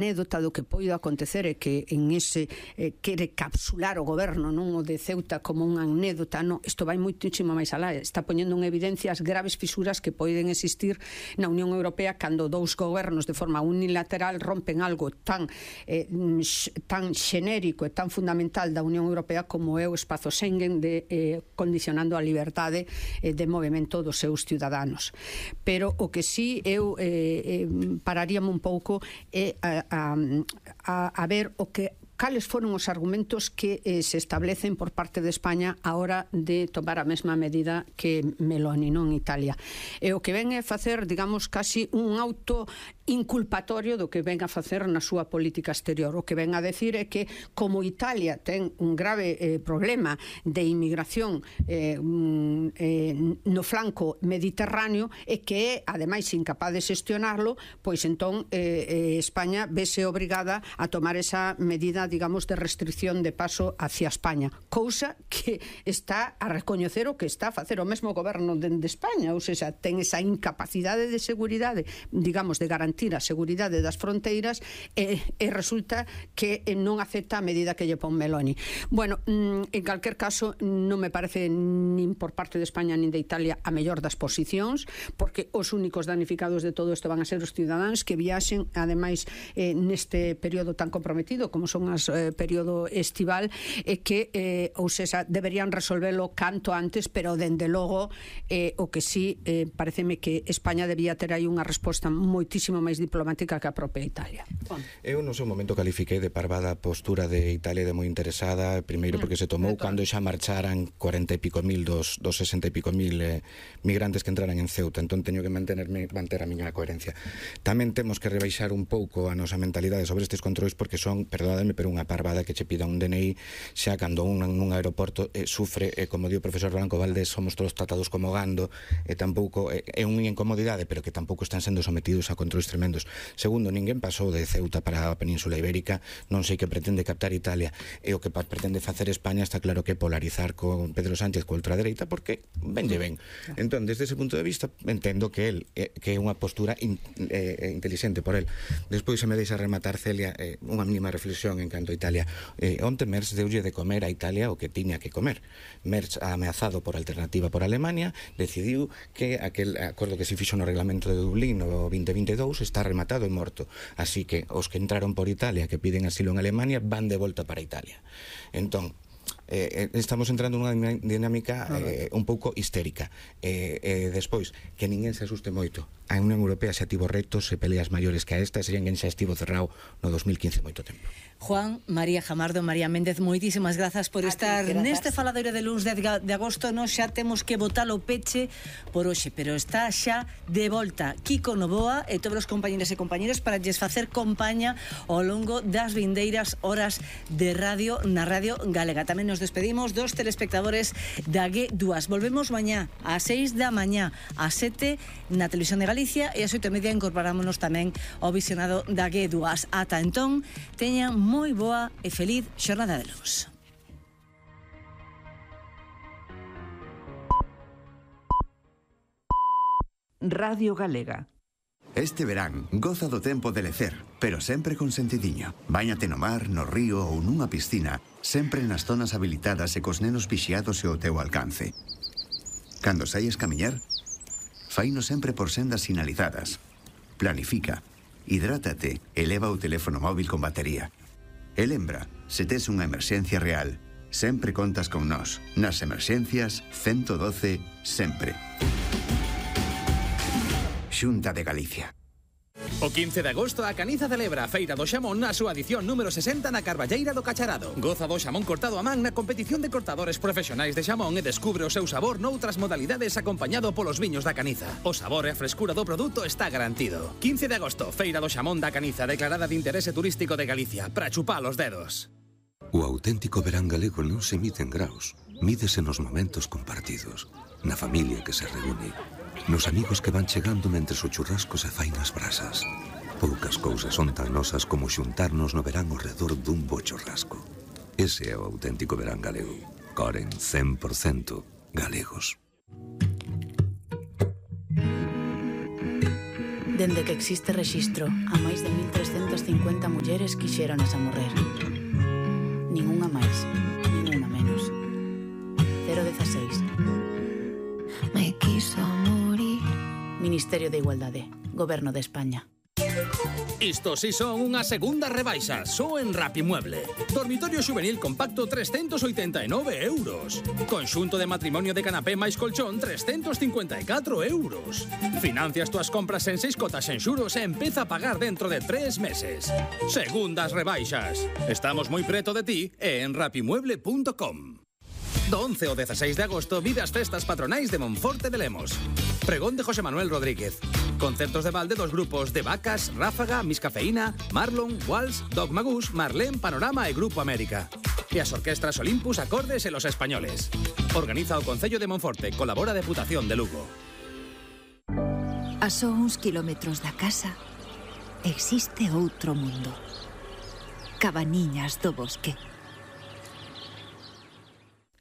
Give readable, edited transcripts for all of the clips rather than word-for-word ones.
anécdota do que poida acontecer é que en ese quere capsular o goberno, non o de Ceuta, como unha anécdota. Non, isto vai moitísimo máis alá, está poñendo en evidencia as graves fisuras que poden existir na Unión Europea cando dous gobernos de forma unilateral rompen algo tan xenérico e tan fundamental da Unión Europea como é o espazo Schengen, condicionando a liberdade de movimento dos seus ciudadanos. Pero o que sí eu pararíame un pouco é a ver cales foron os argumentos que se establecen por parte de España a hora de tomar a mesma medida que Meloni, non Italia. E o que ven é facer, digamos, casi un auto inculpatorio do que ven a facer na súa política exterior. O que ven a decir é que como Italia ten un grave problema de inmigración no flanco mediterráneo e que é, ademais, incapaz de xestionarlo, pois entón España vese obrigada a tomar esa medida, digamos, de restricción de paso hacia España, cousa que está a recoñecer o que está a facer o mesmo goberno de España, ou seja, ten esa incapacidade de seguridade, digamos, de garantir a seguridade das fronteiras e resulta que non acepta a medida que lle pon Meloni. Bueno, en calquer caso, non me parece nin por parte de España nin de Italia a mellor das posicións, porque os únicos danificados de todo isto van a ser os cidadáns que viaxen, ademais, neste período tan comprometido como son as período estival, e que, ou seja, deberían resolvelo canto antes, pero dende logo o que sí, pareceme que España debía ter aí unha resposta moitísimo máis diplomática que a propia Italia. Eu no seu momento califiquei de parvada a postura de Italia, de moi interesada, primeiro porque se tomou cando xa marcharan 40 e pico mil dos 60 e pico mil migrantes que entraran en Ceuta, entón teño que manter a miña coherencia. Tamén temos que rebaixar un pouco a nosa mentalidade sobre estes controis, porque son, perdónadme, pero unha parvada que che pida un DNI xa cando nun aeroporto sufre, como dio o profesor Blanco Valdés, somos todos tratados como gando, e tampouco é unha incomodidade, pero que tampouco están sendo sometidos a controis tremendos. Segundo, ninguén pasou de Ceuta para a Península Ibérica, non sei que pretende captar Italia, e o que pretende facer España está claro que polarizar con Pedro Sánchez coa ultradereita, porque venlle ben. Entón, desde ese punto de vista, entendo que é unha postura inteligente por el. Despois, se me deixa rematar, Celia, unha mínima reflexión en canto a Italia. Onte Merz deulle de comer a Italia o que tiña que comer. Merz, ameazado por alternativa por Alemania, decidiu que aquel acordo que se fixo no reglamento de Dublín no 2022 está rematado e morto. Así que os que entraron por Italia, que piden asilo en Alemania, van de volta para Italia. Entón, estamos entrando nunha dinámica un pouco histérica. Despois, que ninguén se asuste moito. A Unión Europea xa tivo retos e peleas maiores que a esta, e ninguén xa estivo cerrado no 2015 moito tempo. Juan, María Jamardo, María Méndez, moitísimas grazas por estar neste faladoiro de luns 10 de agosto. Nos xa temos que botar o peche por hoxe, pero está xa de volta Kiko Novoa e todos os compañeros e compañeros para lles facer compañía ao longo das vindeiras horas de radio na Radio Galega. Tamén nos despedimos dos telespectadores da G2. Volvemos mañá ás 6 da mañá, ás 7 na Televisión de Galicia, e ás 8:30 incorporámonos tamén ao visionado da G2. Ata entón, teñan moi boa e feliz xornada de luz. Radio Galega. Este verán, goza do tempo de lecer, pero sempre con sentidiño. Báñate no mar, no río ou nunha piscina, sempre nas zonas habilitadas e cos nenos vixiados e ao teu alcance. Cando saies camiñar, faino sempre por sendas sinalizadas. Planifica, hidrátate e leva o teléfono móvil con batería. E lembra, se tes unha emerxencia real, sempre contas con nós. Nas emerxencias, 112, sempre. Xunta de Galicia. O 15 de agosto a Caniza celebra a Feira do Xamón na súa edición número 60 na Carballeira do Cacharado. Goza do xamón cortado a man na competición de cortadores profesionais de xamón e descubre o seu sabor noutras modalidades acompañado polos viños da Caniza. O sabor e a frescura do produto está garantido. 15 de agosto, Feira do Xamón da Caniza, declarada de interese turístico de Galicia, para chupar os dedos. O auténtico verán galego non se mide en graus, mídese nos momentos compartidos, na familia que se reúne, nos amigos que van chegando mentres o churrasco se fai nas brasas. Poucas cousas son tan nosas como xuntarnos no verán ao redor dun bo churrasco. Ese é o auténtico verán galego. Coren 100% galegos. Dende que existe rexistro, a máis de 1.350 mulleres quixéronas a morrer. Ninguna máis, ninguna menos. 016. Me quiso morir. Ministerio de Igualdade, Goberno de España. Isto si son unha segunda rebaixa, só en Rapimueble. Dormitorio juvenil compacto 389 euros. Conxunto de matrimonio de canapé máis colchón 354 euros. Financias túas compras en 6 cotas en xuros e empeza a pagar dentro de 3 meses. Segundas rebaixas. Estamos moi preto de ti e en rapimueble.com. Do 11 ao 16 de agosto vive as festas patronais de Monforte de Lemos. Pregón de José Manuel Rodríguez. Concertos de balde dos grupos de Vacas, Ráfaga, Miscafeína, Marlon, Walsh, Dog Magus, Marlén, Panorama e Grupo América. E as orquestras Olympus, Acordes e Los Españoles. Organiza o Concello de Monforte, colabora a Deputación de Lugo. A só uns kilómetros da casa existe outro mundo. Cabaniñas do bosque.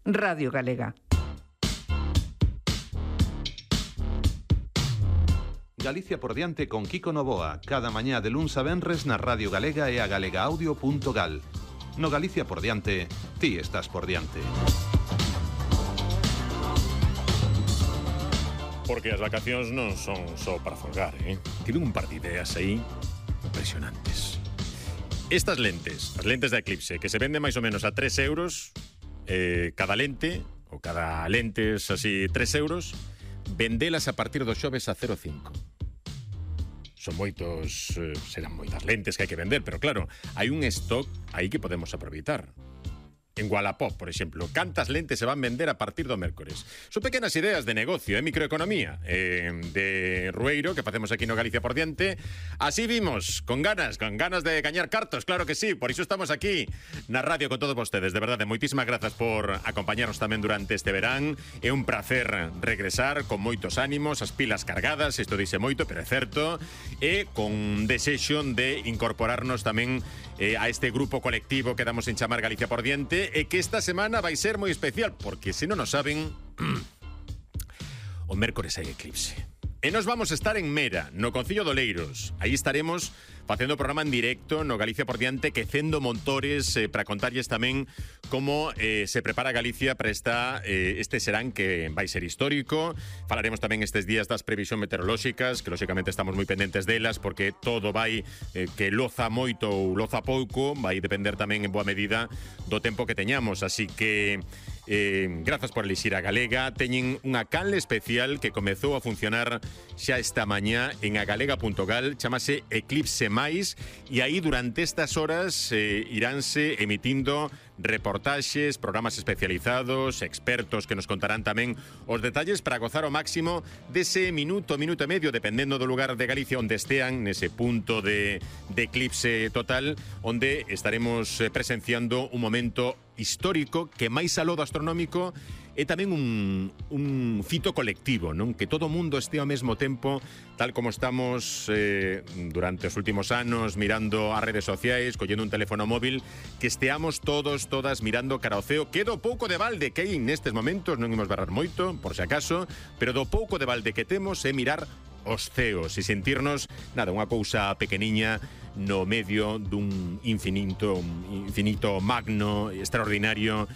Radio Galega. Galicia por diante con Kiko Novoa, cada mañá de luns a venres na Radio Galega e a galegaaudio.gal. No Galicia por diante, ti estás por diante. Porque as vacacións non son só para folgar, Tiven un par de ideas aí impresionantes. Estas lentes, as lentes da Eclipse, que se venden máis ou menos a 3 euros, cada lente, ou cada lentes así 3 euros, vendelas a partir do xoves a 0,5. Son moitos, serán moitas lentes que hai que vender, pero claro, hai un stock aí que podemos aproveitar. En Wallapop, por exemplo, cantas lentes se van vender a partir do mércores? Son pequenas ideas de negocio, microeconomía, de rueiro que facemos aquí no Galicia por diante. Así vimos, con ganas de gañar cartos, claro que sí, por iso estamos aquí na radio con todos vostedes. De verdade, moitísimas grazas por acompañarnos tamén durante este verán. É un placer regresar con moitos ánimos, as pilas cargadas, isto dice moito, pero é certo, e con desexo de incorporarnos tamén a este grupo colectivo que damos en chamar Galicia por diante, e que esta semana vai ser moi especial, porque se non o saben, o mércores hai eclipse. E nos vamos a estar en Mera, no Concello de Oleiros. Aí estaremos facendo o programa en directo no Galicia por diante, quecendo motores para contarlles tamén como se prepara Galicia para este serán que vai ser histórico. Falaremos tamén estes días das previsións meteorolóxicas, que lóxicamente estamos moi pendentes delas, porque todo vai que loza moito ou loza pouco, vai depender tamén en boa medida do tempo que teñamos. Así que grazas por elixir a Galega. Teñen unha canle especial que comezou a funcionar xa esta mañá en agalega.gal, chamase Eclipse Mais, e aí durante estas horas iránse emitindo reportaxes, programas especializados, expertos que nos contarán tamén os detalles para gozar ao máximo dese minuto e medio, dependendo do lugar de Galicia onde estean, nese punto de eclipse total, onde estaremos presenciando un momento histórico que máis aló do astronómico é tamén un fito colectivo, non? Que todo o mundo este ao mesmo tempo, tal como estamos durante os últimos anos mirando as redes sociais, collendo un teléfono móvil, que esteamos todas mirando cara ao ceo, que do pouco de balde que hai nestes momentos, non imos barrar moito, por se acaso, pero do pouco de balde que temos é mirar os ceos e sentirnos, nada, unha cousa pequeniña no medio dun infinito magno, extraordinario,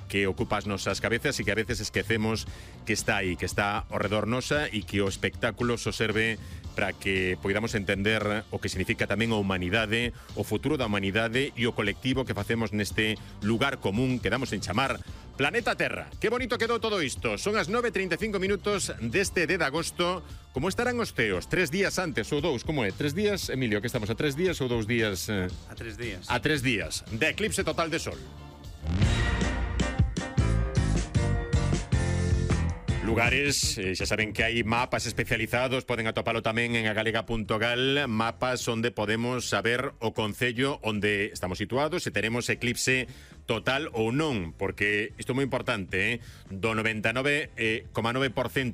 que ocupa as nosas cabezas e que a veces esquecemos que está aí, que está ao redor nosa, e que o espectáculo só serve para que poidamos entender o que significa tamén a humanidade, o futuro da humanidade e o colectivo que facemos neste lugar común que damos en chamar Planeta Terra. Que bonito quedou todo isto. Son as 9:35 minutos deste 10 de agosto. Como estarán os ceos? 3 días antes ou 2? Como é? 3 días, Emilio, que estamos a 3 días ou 2 días? A 3 días. A 3 días de eclipse total de sol. Lugares, xa saben que hai mapas especializados, poden atopalo tamén en agalega.gal, mapas onde podemos saber o concello onde estamos situados, se teremos eclipse total ou non, porque isto é moi importante, do 99,9%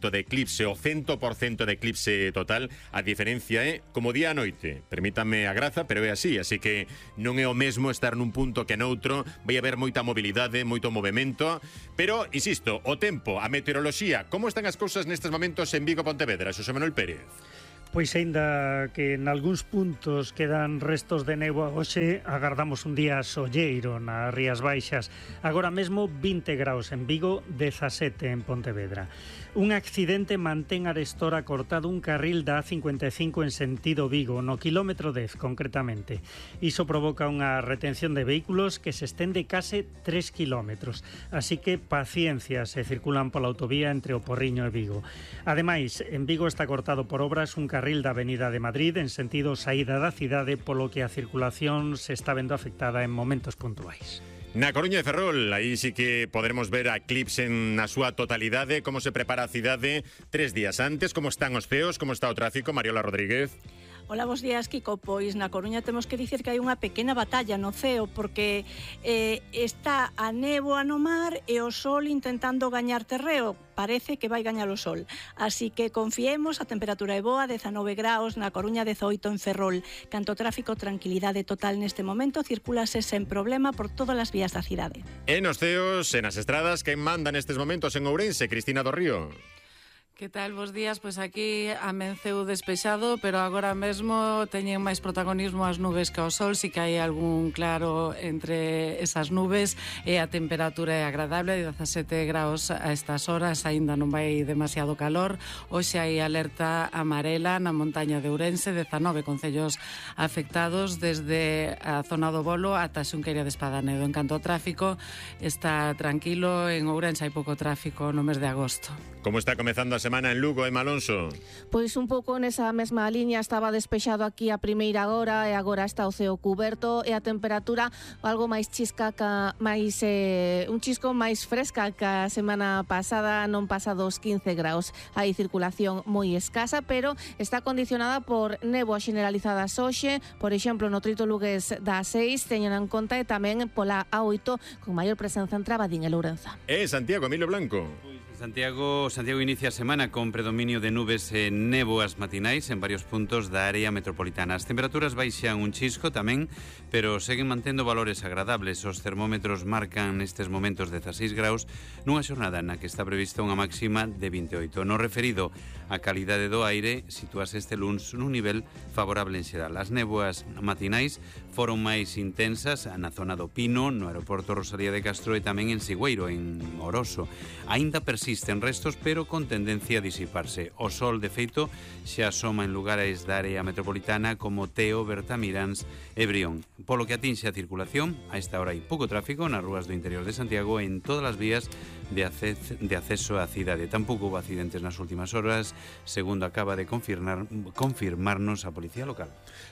de eclipse o 100% de eclipse total, a diferencia é como día a noite. Permítame a graza, pero é así que non é o mesmo estar nun punto que noutro, vai haber moita mobilidade, moito movimento, pero, insisto, o tempo, a meteoroloxía, como están as cousas nestes momentos en Vigo, Pontevedra, Xosé Manuel Pérez? Pois aínda que en algúns puntos quedan restos de néboa hoxe, agardamos un día solleiro nas Rías Baixas. Agora mesmo 20 graus en Vigo, 17 en Pontevedra. Un accidente mantén arestora cortado un carril da A55 en sentido Vigo, no quilómetro 10 concretamente. Iso provoca unha retención de vehículos que se estende case 3 kilómetros. Así que paciencia se circulan pola autovía entre o Porriño e Vigo. Ademais, en Vigo está cortado por obras un carril da Avenida de Madrid en sentido saída da cidade, polo que a circulación se está vendo afectada en momentos puntuais. Na Coruña de Ferrol, aí sí que podremos ver a Eclipse na súa totalidade, como se prepara a cidade 3 días antes, como están os ceos, como está o tráfico. Mariola Rodríguez. Hola, bos días, Kiko. Pois na Coruña temos que dicir que hai unha pequena batalla no ceo porque está a néboa no mar e o sol intentando gañar terreo. Parece que vai gañar o sol. Así que confiemos, a temperatura é boa, 19 graus na Coruña, 18 en Ferrol. Canto tráfico, tranquilidade total neste momento, circulase sen problema por todas as vías da cidade. E nos ceos, e nas estradas, quen manda nestes momentos en Ourense? Cristina do Río. Que tal, bos días? Pois aquí amenceu despexado, pero agora mesmo teñen máis protagonismo as nubes que o sol, si que hai algún claro entre esas nubes e a temperatura é agradable, 17 graus a estas horas, aínda non vai demasiado calor. Hoxe hai alerta amarela na montaña de Ourense, 19 concellos afectados desde a zona do Bolo ata Xunqueira de Espadanedo. En canto ao tráfico, está tranquilo, en Ourense hai pouco tráfico no mes de agosto. Como está comezando a semana en Lugo, Emma Alonso? Pois un pouco nesa mesma liña, estaba despexado aquí a primeira hora e agora está o ceo cuberto e a temperatura algo máis chisca, máis un chisco máis fresca que a semana pasada, non pasa dos 15 graus. Hai circulación moi escasa, pero está condicionada por néboa generalizada hoxe, por exemplo, no trito lugués da 6, teñen en conta, e tamén pola A8 con maior presenza en Trabadín e Lourenza. Santiago, Emilio Blanco. Santiago inicia a semana con predominio de nubes e néboas matinais en varios puntos da área metropolitana. As temperaturas baixan un chisco tamén, pero seguen mantendo valores agradables. Os termómetros marcan nestes momentos 16 graus nunha xornada na que está prevista unha máxima de 28. No referido á calidade do aire, situase este luns nun nivel favorable en xeral. As néboas matinais foron máis intensas na zona do Pino, no aeroporto Rosalía de Castro e tamén en Sigüeiro, en Oroso. Aínda persisten restos, pero con tendencia a disiparse. O sol, de feito, xa asoma en lugares da área metropolitana como Teo, Bertamiráns e Brión. Polo que atinxe a circulación, a esta hora hai pouco tráfico nas rúas do interior de Santiago e en todas as vías de acceso á cidade. Tampouco houve accidentes nas últimas horas, segundo acaba de confirmarnos a Policía Local.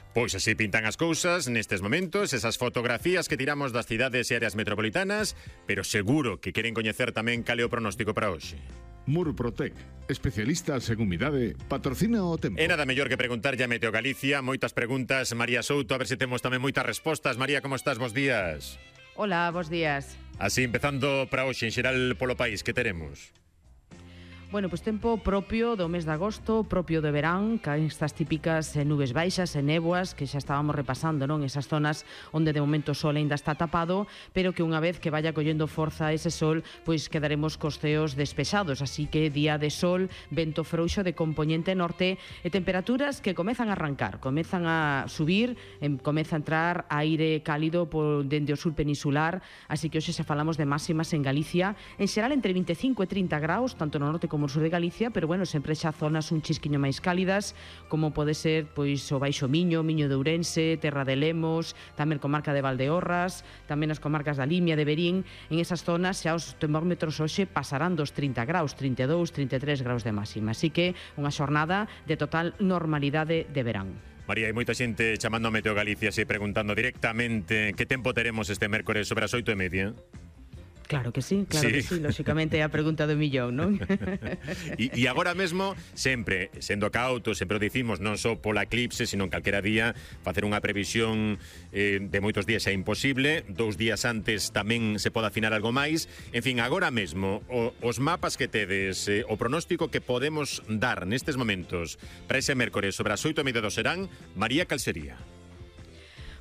Pois así pintan as cousas nestes momentos, esas fotografías que tiramos das cidades e áreas metropolitanas, pero seguro que queren coñecer tamén cal é o pronóstico para hoxe. Murprotec, especialistas en humidade, patrocina o tempo. E nada mellor que preguntarlle a Meteo Galicia, moitas preguntas, María Souto, a ver se temos tamén moitas respostas. María, como estás? Bos días. Hola, bos días. Así, empezando para hoxe, en xeral polo país, que teremos? Bueno, pois tempo propio do mes de agosto, propio de verán, que estas típicas nubes baixas e néboas que xa estábamos repasando, non? Esas zonas onde de momento o sol ainda está tapado, pero que unha vez que vaya collendo forza ese sol, pois quedaremos cos ceos despexados, así que día de sol, vento frouxo de compoñente norte e temperaturas que comezan a arrancar, comezan a subir, comeza a entrar aire cálido dende o sur peninsular, así que hoxe xa falamos de máximas en Galicia, en xeral entre 25 e 30 graus, tanto no norte como no sur de Galicia, pero bueno, sempre xa zonas un chisquiño máis cálidas, como pode ser pois o Baixo Miño, Miño de Ourense, Terra de Lemos, tamén comarca de Valdeorras, tamén as comarcas da Limia, de Verín. En esas zonas xa os termómetros hoxe pasarán dos 30 graus, 32, 33 graus de máxima, así que unha xornada de total normalidade de verán. María, hai moita xente chamando a Meteo Galicia e preguntando directamente que tempo teremos este mércores sobre as 8:30. Claro que sí, lóxicamente é a pregunta do millón, non? E agora mesmo, sempre, sendo cautos, sempre o dicimos, non só pola eclipse, sino en calquera día, facer unha previsión de moitos días é imposible, 2 días antes tamén se pode afinar algo máis. En fin, agora mesmo, os mapas que tedes, o pronóstico que podemos dar nestes momentos para ese mércores sobre as 8:30 do serán, María, cal sería?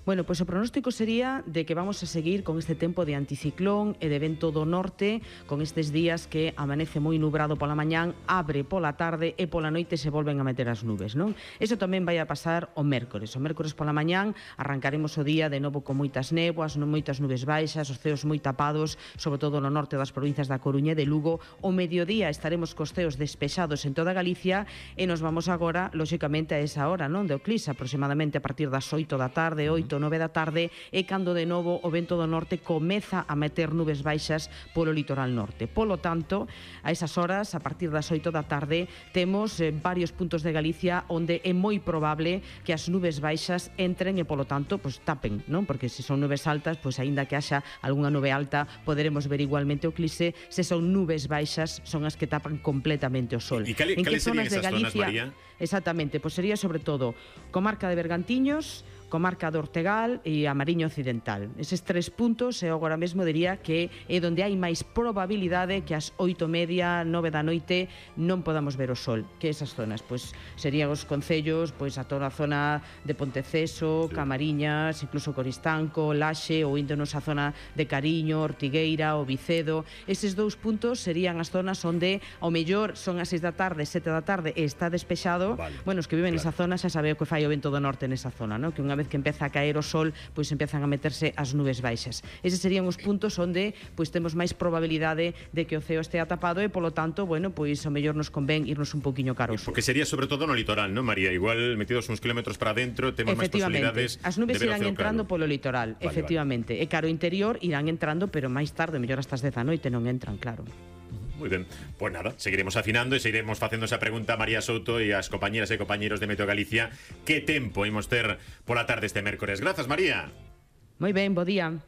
Bueno, pois o pronóstico sería de que vamos a seguir con este tempo de anticiclón e de vento do norte, con estes días que amanece moi nubrado pola mañán, abre pola tarde e pola noite se volven a meter as nubes, non? Eso tamén vai a pasar o mércores. O mércores pola mañán arrancaremos o día de novo con moitas néboas, moitas nubes baixas, os ceos moi tapados, sobre todo no norte das provincias da Coruña e de Lugo. O mediodía estaremos cos ceos despexados en toda Galicia e nos vamos agora, lóxicamente, a esa hora, non? De eclipse, aproximadamente a partir das 8 da tarde, 8, 9 da tarde, e cando de novo o vento do norte comeza a meter nubes baixas polo litoral norte. Polo tanto, a esas horas, a partir das 8 da tarde, temos varios puntos de Galicia onde é moi probable que as nubes baixas entren e, polo tanto, pues, tapen, non? Porque se son nubes altas, pois aínda que haxa algunha nube alta, poderemos ver igualmente o eclipse. Se son nubes baixas, son as que tapan completamente o sol. E cales serían esas zonas, María? Exactamente, pois sería sobre todo comarca de Bergantiños, comarca do Ortegal e a Mariña Occidental. Eses 3 puntos eu agora mesmo diría que é onde hai máis probabilidade que ás 8:30, 9 da noite non podamos ver o sol. Que esas zonas, pois serían os concellos, pois a toda a zona de Ponteceso, Camariñas, incluso Coristanco, Laxe, ou índonos a zona de Cariño, Ortigueira, o Vicedo. Eses 2 puntos serían as zonas onde ao mellor son as 6 da tarde, 7 da tarde e está despexado. Bueno, os que viven nesa zona xa sabe o que fai o vento do norte nesa zona, non? Que unha vez que empeza a caer o sol, pois empezan a meterse as nubes baixas. Eses serían os puntos onde pois temos máis probabilidade de que o ceo estea tapado e, polo tanto, bueno, pois o mellor nos convén irnos un poquinho caros. Porque sería sobre todo no litoral, non, María? Igual metidos uns kilómetros para dentro temos máis posibilidades. As nubes irán entrando polo litoral, efectivamente. E caro interior irán entrando, pero máis tarde, mellor hasta as 10 da noite non entran, claro. Moi ben, pois nada, seguiremos afinando e seguiremos facendo esa pregunta a María Souto e as compañeras e compañeros de Meteo Galicia. Que tempo imos ter pola tarde este mércores? Grazas, María. Moi ben, bo día.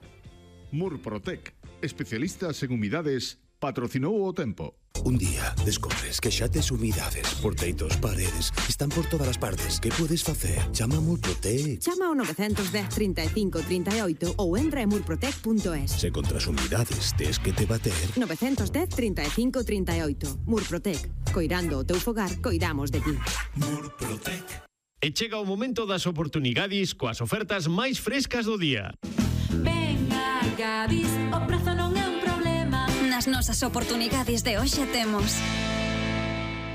Murprotec, especialistas en humidades, patrocinou o tempo. Un día descobres que xa tes humidades por teitos, paredes, están por todas as partes. Que podes facer? Chama a Murprotec. Chama ao 910 35 38 ou entra en murprotec.es. Se contra as humidades tes que te bater. 910 35 38. Murprotec. Coirando o teu fogar, coidamos de ti. Murprotec. E chega o momento das oportunidades coas ofertas máis frescas do día. Venga, Gadis, o prezo non é un problema. Nas nosas oportunidades de hoxe temos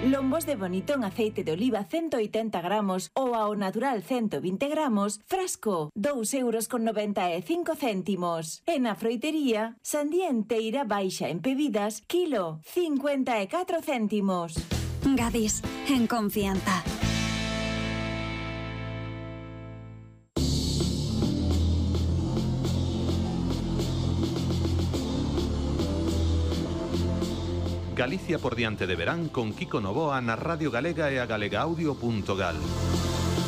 lombos de bonito en aceite de oliva 180 gramos ou ao natural 120 gramos, frasco, 2,95 €. E na froitería, sandía enteira baixa en bebidas, kilo, 54 céntimos. Gadis, en confianza. Galicia por diante de verán con Kiko Novoa na Radio Galega e a galegaaudio.gal.